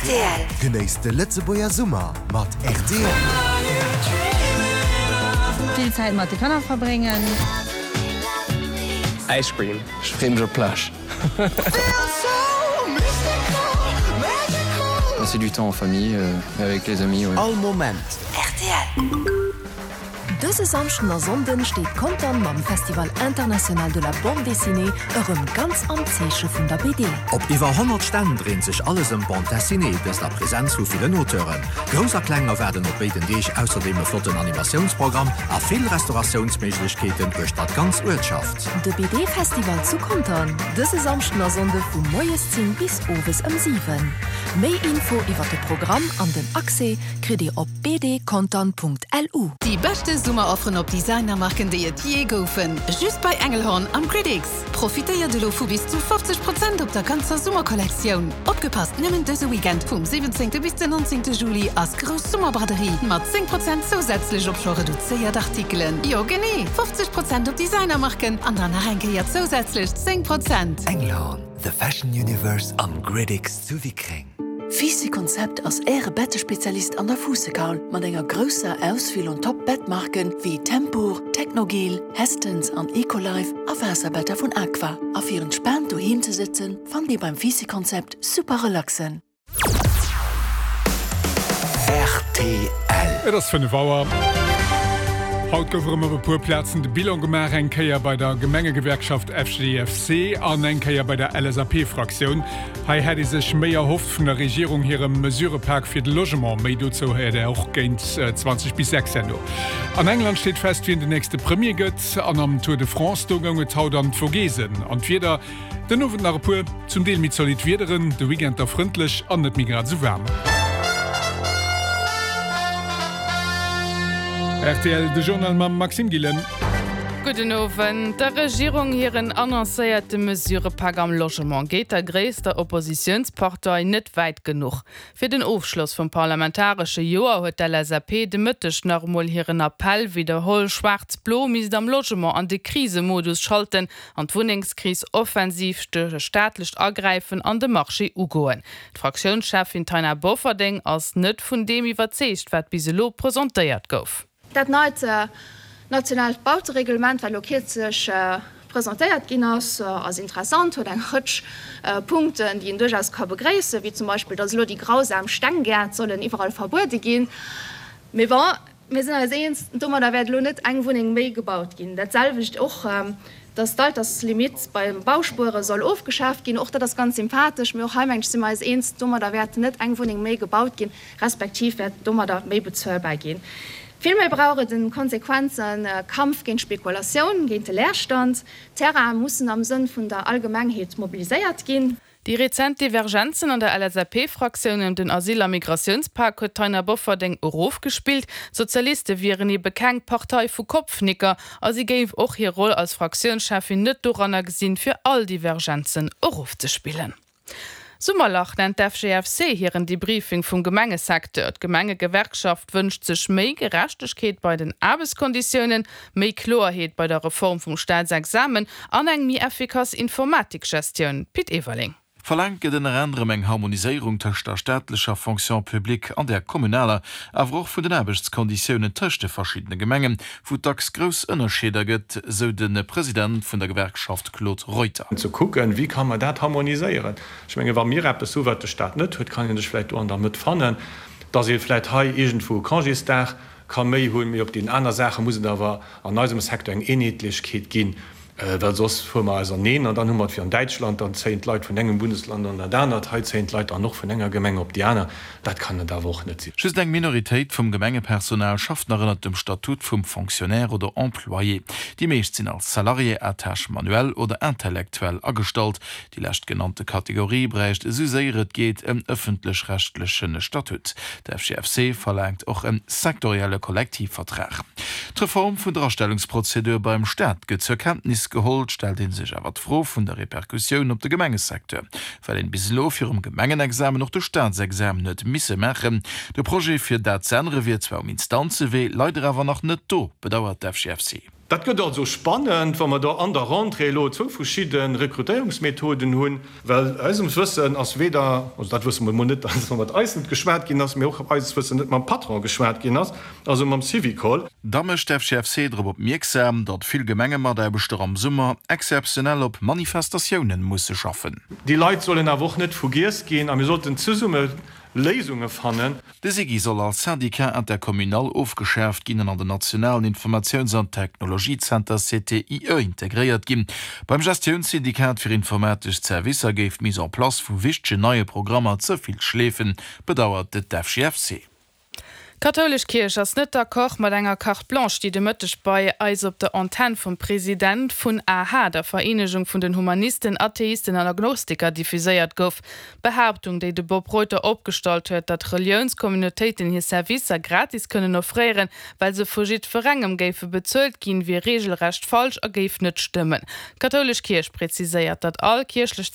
Rtl. Genéisst de Lëtzebuerger Summer mat rtl. Vill Zäit mat de Kanner verbréngen. Ice cream. Ech freeë mech op d'Plage. Passer du temps en famille et avec les amis, ouais. All Moment. Rtl. Dëse Samschden a Sonnden steet Contern mam Festival International de la Bande Dessinée erëm ganz am Zeeche vun der BD. Op iwwer 100 Stänn dréint sech alles ëm Bande Dessinée, dëst a Presenz vu villen Auteuren. Grouss a Kleng erwaarden op béiden Deeg ausserdeem e flotten Animatiounsprogramm a vill Restauratiounsméiglechkeeten uechter d'ganz Uertschaft. De BD-Festival zu Contern, dëse Samschden a Sonnde vu moies 10 bis owes ëm 7. Méi Info iwwer de Programm an den Accès kritt Dir op bdcontern.lu. Déi beschte Summerofferen op Designermarken déi et jee goufen, just bei Engelhorn am Critics! Profitéiert elo vu bis zu 50 Prozent op der ganzer Summerkollektioun! Opgepasst, nëmmen dëse Weekend vum 17 bis den 19 Juli ass grouss Summerbraderie mat 10 Prozent zousätzlech op scho reduzéiert Artikelen. Jo genee, 50 Prozent op Designermarken an dann nach eng Kéier zousätzlech 10 Prozent! Engelhorn, the fashion universe am Gridix zu Wickreng. Fiiss Konzept ass Äre Bettespezialist an der Fuussekaul mat enger grousser Auswiel un Top Bettmarken wéi Tempur, Technogel, Hästens an Ecolife a Waasserbetter vun Aqua. A fir entspaant doheem ze sëtzen, fannt Dir beim Fiiss Konzept super relaxen. Rtl. Et ass 5 Auer. Haut gouf erëm op e puer Plazen de Bilan gemaach, eng Kéier bei der Gemengegewerkschaft FGFC an eng Kéier bei der LSAP-Fraktioun. Hei hätt ee sech méi erhofft vun der Regierung hirem Mesurëpak fir de Logement. Méi dozou héiert Där och géint 20 bis 6 herno. An England steet fest, wien den nächste Premier gëtt. An am Tour de France, do goung et haut an d'Vogesen. An d'Wieder, Den Owend nach e puer zum Deel méi zolidd Wiederen, de Weekend da frëndlech an net méi grad esou waarm. Rtl, De Journal mam Maxime Gillen. Gudden Owend. Der Regierung hiren annoncéierte Mesurëpak am Logement geet der gréisster Oppositiounspartei net wäit genuch. Fir den Ofschloss vum parlamentaresche Joer huet d'LSAP de Mëtteg nach emol hiren Appell widderholl, Schwaarz-Blo misst am Logement an de Krisemodus schalten an d'Wunnengskris offensiv duerch e staatlecht Agräifen an de Marché ugoen. D'Fraktiounscheffin Taina Bofferding ass net vun deem iwwerzeegt, wat bis elo presentéiert gouf. Dat neit nationaalt Bautereglement, wat elo kierzlech presentéiert ginn ass, ass interessant, huet eng Rëtsch Punkten, déi een duerchaus ka begréissen, wéi zum Beispill, datt elo déi grausam Stenggäert sollen iwwerall verbuede ginn. Mee bon, Mir sinn eis eens, domadder wäert elo net eng Wunneng méi gebaut ginn. Dat selwecht och, dass d'Alterslimitt beim Bauspuere soll ofgeschaaft ginn. Och dat ass ganz sympathesch. Mee och hei, mengen ech, si mer eis eens, domadder wäert net eng Wunneng méi gebaut ginn, respektiv wäert domadder méi bezuelbar ginn. Villméi brauch et e konsequente Kampf géint d'Spekulatioun, géint de Leerstand. D'Terraine mussen am Sënn vun der Allgemengheet mobiliséiert ginn. Déi rezent Divergenzen an der LSAP-Fraktioun ëm den Asyl a Migratiounspak huet d'Taina Bofferding erofgespillt. D'Sozialiste wieren ebe keng Partei vu Kopfnicker a si géif och hir Roll als Fraktiounscheffin net doranner gesinn, fir all Divergenzen erofzespillen. Summerlach nennt d'FGFC hiren Debriefing vum Gemengesecteur. D'Gemengegewerkschaft wënscht sech méi Gerechtegkeet bei den Aarbechtskonditiounen, Méi Kloerheet bei der Reform vum Staatsexamen an eng méi effikass Informatikgestioun, Pit Everling. Verlaangt gëtt ënner anerem eng Harmoniséierung tëscht der staatlecher Fonction publique an där kommunaler, awer och vun den Aarbechtskonditiounen tëscht de verschiddene Gemengen, wou et dacks grouss Ënnerscheeder gëtt, sou de President vun der Gewerkschaft Claude Reuter. Ze kucken, wéi ka mer dat harmoniséieren. Ech menge wa mir eppes hu wat de Staat net huet, kann ee sech vläicht do an der Mëtt fannen, datt ee vläicht hei iergendwou e Congésdag ka méi hunn, mee op deenen aner Saache muss et awer an eisem Secteur eng Eenheetlechkeet ginn, well soss fuere mer auserneen an dann hu mer et wéi an Däitschland, dann zéien d'Leit vun engem Bundesland an dat anert, hei zéien d'Leit dann och vun enger Gemeng op déi aner. Dat kann et awer och net sinn. Just eng Minoritéit vum Gemengepersonal schafft nach ënnert dem Statut vum Fonctionnaire oder Employé. Déi meescht sinn als Salarié à tâche manuelle oder intellectuelle agestallt. Déi leschtgenannte Kategorie bräicht esou séier et geet en ëffentlech-rechtleche Statut. De FGFC verlaangt och e sektorielle Kollektivvertrag. D'Reform vun der Astellungsprozedur beim Staat gëtt zur Kenntnis geholl. Et stellt ee sech awer d'Fro vun der Repercussioun op de Gemengesecteur, well een bis elo virum Gemengenexamen och de Staatsexamen huet misse maachen. De Projet fir dat z'ännere wier zwar um Instanzewee, leider awer nach net do, bedauert d'FGFC. Dat gëtt also spannend, wa mer do an der Rentrée elo zwou verschidde Rekrutéierungsmethoden hunn. Well eisem Wëssen ass weder, also dat wësse mer emol net, datt mat eis net geschwat ginn ass, mee och eises Wëssen net mam Patron geschwat ginn ass, also mam Syvicol. Da mécht d'FGFC drop opmierksam, datt vill Gemengemataarbechter am Summer exzeptionell op Manifestatiounen musse schaffen. Déi Leit sollen awer och net vergiess ginn a mir sollten zesumme Léisunge fannen. De SIGI soll als Syndicat intercommunal ofgeschaaft ginn an an den nationalen Informatiouns an Technologiezenter CTIE integréiert ginn. Beim Gestiounssyndikat fir informatesch Zerwisser géif d'Mise en place vu wichtegen neie Programmer ze vill schleefen, bedauert de d'FGFC. D'Kathoulesch Kierch ass net d'accord mat enger Carte blanche, déi de Mëtteg bei eis op der Antenn vum President vun aha, der Vereenegung vun den Humanisten, Atheisten an Agnostiker, diffuséiert gouf. D'Behaaptung, déi de Bob Reuter opgestallt huet, datt Reliounscommunautéiten hir Servicer gratis kënnen offréieren, well se vu jiddwerengem géife bezuelt ginn, wier reegelrecht falsch a géif net stëmmen. D'kathoulesch Kierch preziséiert, datt all kierchlech.